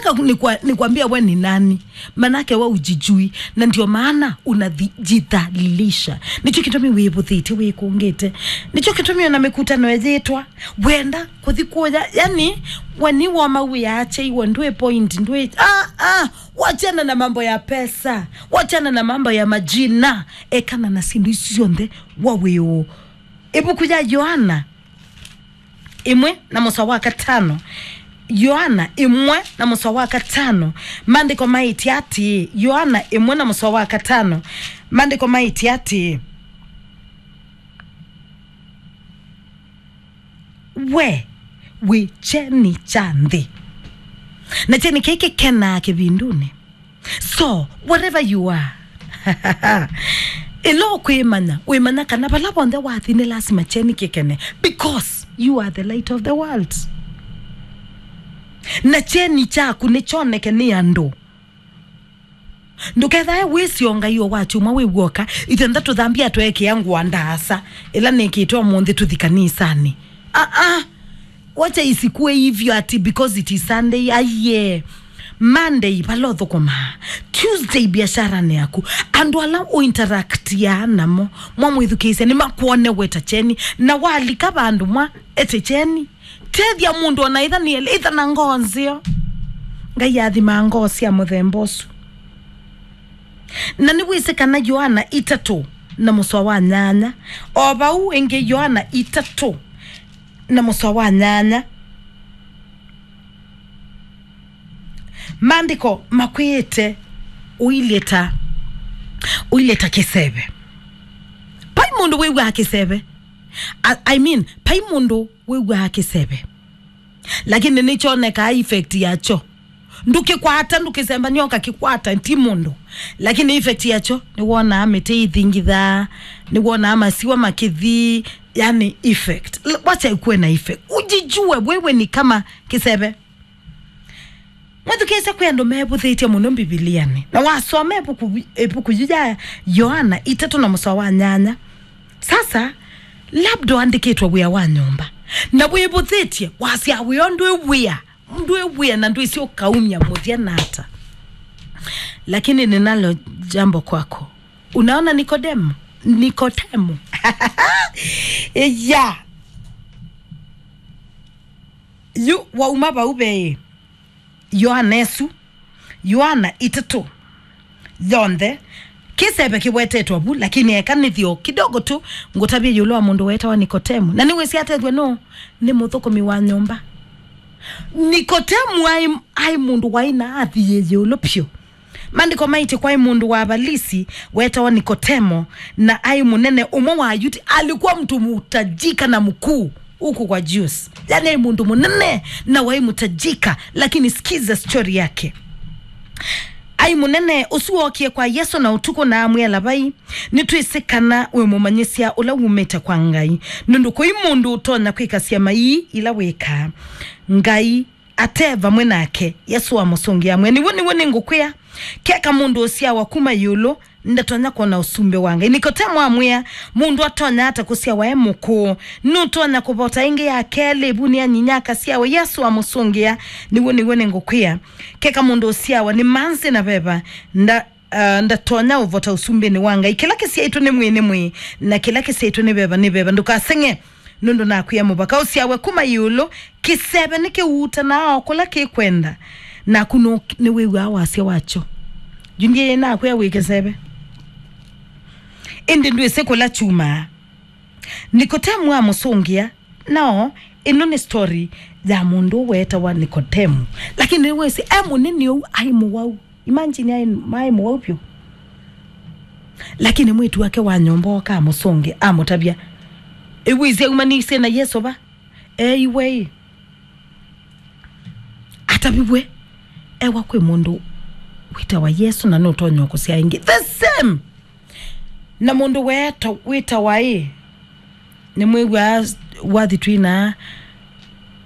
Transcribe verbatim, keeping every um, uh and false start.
Ka-, nikwa-, nikwambia we ni nani? Manake we ujijui, na ndio maana unajidhalilisha. Nicho kitumi wĩvũthĩtye wĩkũngĩte. Nicho kitumi ona mikutano yĩtwa wenda kuthi kuya, yani, we ni woma wĩache iwe ndwĩ point, ndwĩ, ah, ah, wachana na mambo ya pesa, wachana na mambo ya majina, ekana na sindu isu syonthe wa wĩũ. Ivuku ya Yohana ĩmwe na mũsoa wa katano. Yohana ĩmwe na mũsoa wa katano, maandĩko maĩtye atĩĩ, Yohana ĩmwe na mũsoa wa katano, maandĩko maĩtye atĩĩ, "We wĩ kyeni kya nthĩ, na kyeni kĩĩ kĩkenaa kĩvindunĩ." So, wherever you are, ĩla ũkwĩmanya, wĩmanya kana vala vonthe wathi nĩ lasima kyeni kĩkene, because you are the light of the world. Na kyeni kyaku nĩkyoneke nĩ andũ. Ndũkethae wĩsĩ o Ngai o wa kyumwa wĩ w'oka, ithe ndatũthambia tweekĩa ngũa ndaasa, ĩla nĩkĩtwe ũmũnthĩ tũthi kanisanĩ. Aa, wacha isikuwe hivyo ati because it is Sunday, aiye. Monday, vala ũthũkũmaa. Tuesday, biasharani yaku. Andũ ala ũinteractia namo, mwamwĩthukĩĩsya, nĩmakwone weta kyeni. Na walika vandũ mwa ete kyeni. Tethya mũndũ ona itha nĩ, itha na ngoo nzeo. Ngai athimaa ngoo sya mũthemba ũsu. Na nĩwĩsĩ kana Yohana itatũ na mũsoa wa nyanya. O vau ĩngĩ Yohana itatũ na mũsoa wa nyanya. Maandĩko makwĩĩte ũilye ta, ũilye ta kĩseve. Vai mũndũ wĩw'aa kĩseve. I, I mean, vai mũndũ wĩw'aa kĩseve. Lakini nĩkyonekaa effect yakyo. Ndũkĩkwata, ndũkĩsembany'a ũkakĩkwata, ti mũndũ. Lakini effect yakyo, nĩwonaa mĩtĩ ithingithaa, nĩwonaa masiwa makĩthi, yani effect. L-, wacha ikuwe na effect. Ujijue wewe ni kama kĩseve. Mwĩthukĩĩsya kwĩ andũ mevũthĩtye mũno Mbivilianĩ. Na wasoma ĩvuku, ĩvuku yu ya Yohana itatũ na mũsoa wa nyanya. Sasa, labda ũandĩkĩtwe wĩa wa nyũmba. Na wĩvũthĩtye, wasya wĩa ndwĩ wĩa. Ndwĩ wĩa na ndwĩsĩ ũkaumya mũthya na ata. Lakini ninalo jambo kwako. Unaona Nikodemo? Nikodemo. Ya. Yu wauma vau ve Yohana ĩsu. Yohana itatũ yonthe, kĩseve kĩwetetwe vu, lakini eka nĩthyo kidogo tu ngũtavye ĩũlũ wa mũndũ weetawa Nikotemu. Na nĩwĩsĩ atethw'e nũũ? Nĩ mũthũkũmi wa nyũmba. Nikotemu aĩ, aĩ mũndũ waĩ na athi yĩ ĩũlũ vyũ. Maandĩko maĩtye kwaĩ mũndũ wa Avalisi weetawa Nikotemo, na aĩ mũnene ũmwe wa Ayuti. Alikuwa mtu mtajika na mkuu huku kwa Jews. Yani aĩ mũndũ mũnene na waĩ mtajika, lakini sikiza story yake. Aĩ mũnene ũsu wookie kwa Yesũ na ũtukũ na amwĩa, "Lavai, nĩtwĩsĩ kana wĩ mũmanyĩsya ũla wumĩte kwa Ngai, nũndũ kũi mũndũ ũtonya kwĩka syama ii ila wĩkaa Ngai ate vamwe nake." Yesũ amũsũngĩa amwĩa, "Nĩw'o, nĩw'o nĩngũkwĩa, keka mũndũ ũsyawa kuma ĩũlũ ndatonya kwona ũsumbĩ wa Ngai." Nikotemo amwĩa, "Mũndũ atonya ata kũsyawa e mũkũũ? Nũtonya kũvota ĩngĩ ya kelĩ ĩvunĩ anyinya akasyawa?" Yesũ amũsũngĩa, "Nĩw'o, nĩw'o nĩngũkwĩa, keka mũndũ ũsyawa nĩ manzĩ na veva nda-, ah, ndatonya ũvota ũsumbĩnĩ wa Ngai. Kĩla kĩsyaĩtwe nĩ mwĩĩ nĩ mwĩĩ, na kĩla kĩsyaĩtwe nĩ veva nĩ veva. Ndũkaseng'e, nũndũ nakwĩa mũvaka ũsyawe kuma ĩũlũ. Kĩseve nĩkĩutanaa o kũla kĩkwenda, naku nũ-, nĩwĩw'aa wasya wakyo. Yu ndiĩ nakwĩa wĩ kĩseve, ĩndĩ ndwĩsĩ kũla kyumaa." Nikotemu amũsũngĩa, "No, ĩno nĩ story ya mũndũ weetawa Nikotemu." Lakini nĩwĩsĩ e mũnene ũu aĩ mũwau. Imagine aĩ, maĩ mũwau vyũ. Lakini mwĩĩtu wake wa nyũmba oka amũsũngĩa, amũtavya, "Ĩwĩsĩ aumanĩsye na Yesũ va? Eiwe ĩ, ataviw'e ewa kwĩ mũndũ wĩtawa Yesũ na nũtonya kũsyaa ĩngĩ." The same. Na mũndũ weeta, wĩtawa ĩ, nĩmwĩw'aa wathi twina